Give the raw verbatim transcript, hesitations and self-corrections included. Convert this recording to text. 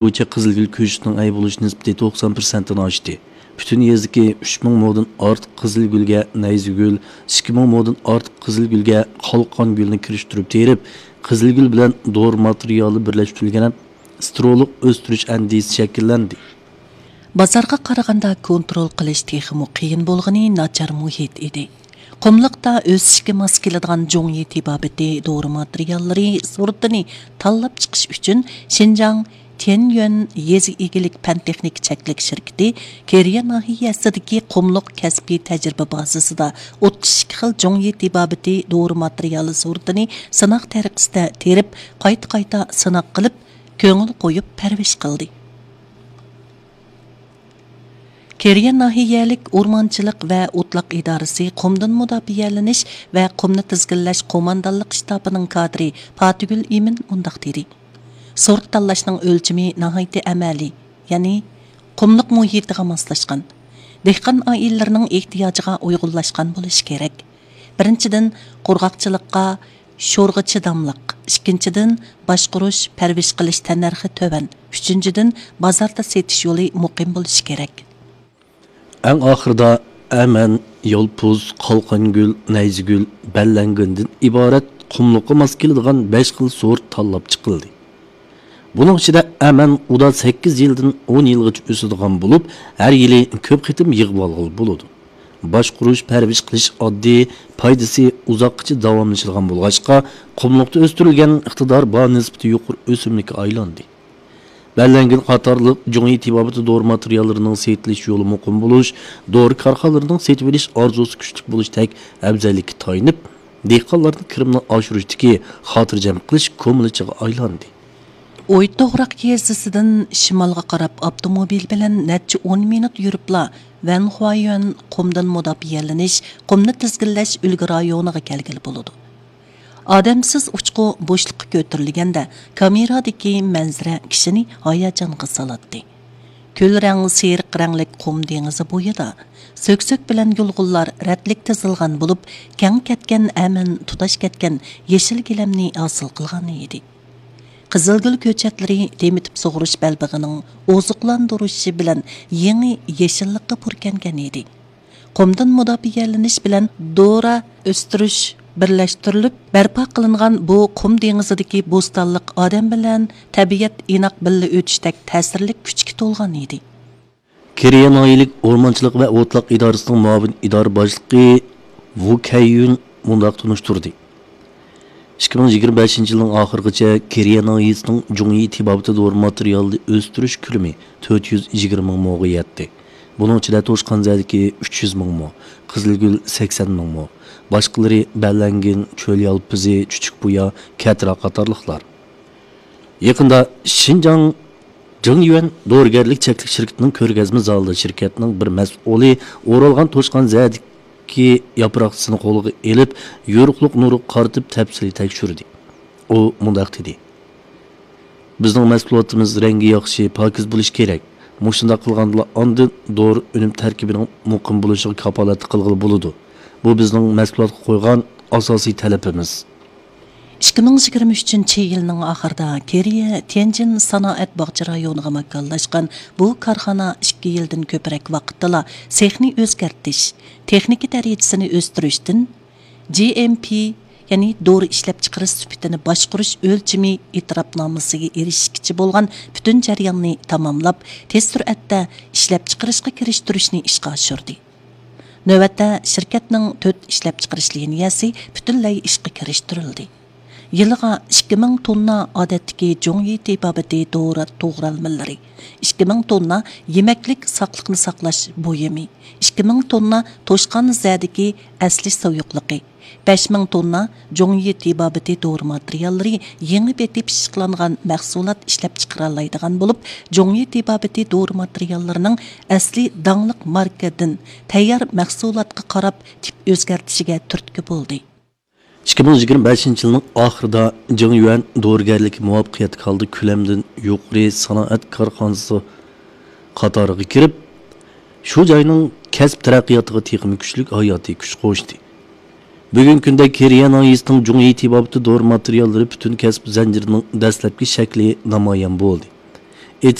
بويىچە قىزىلگۈل كۆچىتىنىڭ ئەي بولۇش نىسبىتى توقسان پىرسەنتتىن ئاشتى. پۈتۈن يېزىدىكى ئۈچ مىڭ مودىن ئارتۇق قىزىلگۈلگە نەيزىگۈل، ئىككى مىڭ مودىن ئارتۇق قىزىلگۈلگە قالقان گۈلنى كىرىشتۈرۈپ تېرىپ، قىزىلگۈل بىلەن دورا ماتېرىيالى بىرلەشتۈرۈلگەن ستېرېئولۇق ئۆستۈرۈش ئەندىزىسى شەكىللەندى. بازارغا قارىغاندا كونترول قىلىش تېخىمۇ قىيىن بولغىنى ناچار مۇھىت ئىدى. قۇملۇقتا ئۆسۈشكە ماس كېلىدىغان جۇڭيى تېبابىتى دورا ماتېرىياللىرى سورتىنى تاللاپ چىقىش ئۈچۈن شىنجاڭ تيەنيۈەن يېزا ئىگىلىك پەن تېخنىكا چەكلىك شىركىتى كېرىيە ناھىيەسىدىكى قۇملۇق كەسپىي تەجرىبە بازىسىدا ئوتتۇز ئىككى خىل جۇڭيى تېبابىتى دورا ماتېرىيالى سورتىنى سىناق تەرىقىسىدە تېرىپ، قايتا-قايتا سىناق قىلىپ، كۆڭۈل قويۇپ پەرۋىش قىلدى. كېرىيە ناھىيەلىك ئورمانچىلىق ۋە ئوتلاق ئىدارىسى قۇمدىن مۇداپىئەلىنىش ۋە قۇمنى تىزگىنلەش قوماندانلىق شتابىنىڭ كادىرى پاتىگۈل ئىمىن مۇنداق دېدى: سورت تاللاشنىڭ ئۆلچىمى ناھايىتى ئەمەلىي، يەنى قۇملۇق مۇھىتىغا ماسلاشقان، دېھقان ئائىلىلىرىنىڭ ئېھتىياجىغا ئۇيغۇنلاشقان بولۇشى كېرەك. بىرىنچىدىن، قۇرغاقچىلىققا، شورغا چىداملىق، ئىككىنچىدىن، باشقۇرۇش، پەرۋىش قىلىش تەننەرخى تۆۋەن، ئۈچىنچىدىن، بازاردا سېتىش يولى مۇقىم بولۇشى كېرەك. ئەڭ ئاخىرىدا ئەمەن، يالپۇز، قالقانگۈل، نەيزىگۈل، بەللەنگۈندىن ئىبارەت قۇملۇققا ماس كېلىدىغان بەش خىل سورت تاللاپ چىقىلدى. بۇنىڭ ئىچىدە ئەمەن ئۇدا سەككىز يىلدىن ئون يىلغىچە ئۆسىدىغان بولۇپ، ھەر يىلى كۆپ قېتىم يىغىۋالغىلى بولىدۇ. باشقۇرۇش، پەرۋىش قىلىش ئاددىي، پايدىسى ئۇزاققىچە داۋاملىشىدىغان بولغاچقا، قۇملۇقتا ئۆستۈرۈلگەن ئىقتىدارى بار، نىسبىتى يۇقىرى ئۆسۈملۈككە ئايلاندى. بەللەنگۈن قاتارلىق جۇڭيى تېبابىتى دورا ماتېرىياللىرىنىڭ سېتىلىش يولى مۇقىم بولۇش، دورا كارخانىلىرىنىڭ سېتىۋېلىش ئارزۇسى كۈچلۈك بولۇشتەك ئەۋزەللىككە تايىنىپ، دېھقانلارنىڭ كىرىمىنى ئاشۇرۇشتىكى خاتىرجەم قىلىش كۇمۇلچىغا ئايلاندى. ئويتوغراق يېزىسىدىن شىمالغا قاراپ ئاپتوموبىل بىلەن نەچچە ئون مىنۇت يۈرۈپلا، ۋەنخۇايۈەن قۇمدىن مۇداپىئەلىنىش، قۇمنى تىزگىنلەش ئۈلگە رايونىغا كەلگىلى بولىدۇ. ئادەمسىز ئۇچقۇ بوشلۇققا كۆتۈرۈلگەندە، كامېرادىكى مەنزىرە كىشىنى ھاياجانغا سالاتتى. كۈل رەڭ سېرىق رەڭلىك قۇم دېڭىزى بويىدا، سۆكسۆك بىلەن يۇلغۇنلار رەتلىك تىزىلغان بولۇپ، كەڭ كەتكەن ئەمەن تۇتاش كەتكەن يېشىل گىلەمنى ھاسىل قىلغان ئىدى. قىزىلگۈل كۆچەتلىرى تېمىتىپ سۇغۇرۇش بەلبېغىنىڭ ئوزۇقلاندۇرۇشى بىلەن يېڭى يېشىللىققا پۇركەنگەن ئىدى. قۇمدىن مۇداپىئەلىنىش بىلەن دورا ئۆستۈرۈش بىرلەشتۈرۈلۈپ بەرپا قىلىنغان بۇ قۇم دېڭىزىدىكى بوستانلىق ئادەم بىلەن تەبىئەت ئىناق بىللە ئۆتۈشتەك تەسىرلىك كۈچكە تولغان ئىدى. كېرىيە ناھىيەلىك ئورمانچىلىق ۋە ئوتلاق ئىدارىسىنىڭ مۇئاۋىن ئىدارە باشلىقى ۋۇ كەييۈن مۇنداق تونۇشتۇردى. ئىككى مىڭ يىگىرمە بەشىنچى يىلنىڭ ئاخىرىغىچە كېرىيە ناھىيەسىنىڭ جۇڭيى تېبابىتى دورا ماتېرىيالى ئۆستۈرۈش كۆلىمى تۆت يۈز يىگىرمە مىڭ موغا يەتتى. بۇنىڭ ئىچىدە توشقان زەدىكى ئۈچ يۈز مىڭ مو، قىزىلگۈل سەكسەن مىڭ مو، باشقىلىرى بەللەنگىن، چۆل يالپۇزى، چۈچۈك بۇيا، كەتىرا قاتارلىقلار. يېقىندا شىنجاڭ جىڭيۈەن دورىگەرلىك چەكلىك شىركىتىنىڭ كۆرگەزمە زالىدا شىركەتنىڭ بىر مەسئۇلى ئورالغان توشقان زەدىكى ياپراقچىسىنى قولىغا ئېلىپ، يورۇقلۇق نۇرىغا قارىتىپ تەپسىلىي تەكشۈردى. ئۇ مۇنداق دېدى: بىزنىڭ مەھسۇلاتىمىز رەڭگى ياخشى، پاكىز بولۇشى كېرەك. مۇشۇنداق قىلغاندىلا ئاندىن دورا ئۈنۈم تەركىبىنىڭ مۇقىم بولۇشىغا كاپالەتلىك قىلغىلى بولىدۇ. بۇ بىزنىڭ مەھسۇلاتقا قويغان ئاساسىي تەلىپىمىز. ئىككى مىڭ يىگىرمە ئۈچىنچى يىلنىڭ ئاخىرىدا كېرىيە تيەنجىن سانائەت باغچە رايونىغا ماكانلاشقان بۇ كارخانا ئىككى يىلدىن كۆپرەك ۋاقىتتىلا سېخنى ئۆزگەرتىش، تېخنىكا دەرىجىسىنى ئۆستۈرۈشتىن، جي ئېم پى، يەنى دورا ئىشلەپچىقىرىش سۈپىتىنى باشقۇرۇش ئۆلچىمى ئېتىراپنامىسىگە ئېرىشىشكىچە بولغان پۈتۈن جەرياننى تاماملاپ، تېز سۈرئەتتە ئىشلەپچىقىرىشقا كىرىشتۈرۈشنى ئىشقا ئاشۇردى. نۆۋەتتە شىركەتنىڭ تۆت ئىشلەپچىقىرىش لىنىيەسى پۈتۈنلەي ئىشقا كىرىشتۈرۈلدى. يىلىغا ئىككى مىڭ توننا ئادەتتىكى جۇڭيى تېبابىتى دورا توغرالمىلىرى، ئىككى مىڭ توننا يېمەكلىك ساقلىقنى ساقلاش بۇيۇمى، ئىككى مىڭ توننا توشقان زەدىكى ئەسلى سۇيۇقلۇقى، بەش مىڭ توننا جۇڭيى تېبابىتى دورا ماتېرىياللىرى يېڭى بېتى پىششىقلانغان مەھسۇلات ئىشلەپچىقىرالايدىغان بولۇپ، جۇڭيى تېبابىتى دورا ماتېرىياللىرىنىڭ ئەسلى داڭلىق ماركىدىن تەييار مەھسۇلاتقا قاراپ تىپ ئۆزگەرتىشىگە تۈرتكە بولدى. ئىككى مىڭ يىگىرمە بەشىنچى يىلنىڭ ئاخىرىدا جېڭيۈەن دورىگەرلىكى مۇۋەپپەقىيەتلىك ھالدا كۆلەمدىن يۇقىرى سانائەت كارخانىسى قاتارىغا كىرىپ، شۇ جاينىڭ كەسىپ تەرەققىياتىغا تېخىمۇ كۈچلۈك ھاياتىي كۈچ قوشتى. بۈگۈنكى كۈندە كېرىيە ناھىيەسىنىڭ جۇڭيى تېبابىتى دورا ماتېرىياللىرى پۈتۈن كەسىپ زەنجىرىنىڭ دەسلەپكى شەكلى نامايان بولدى.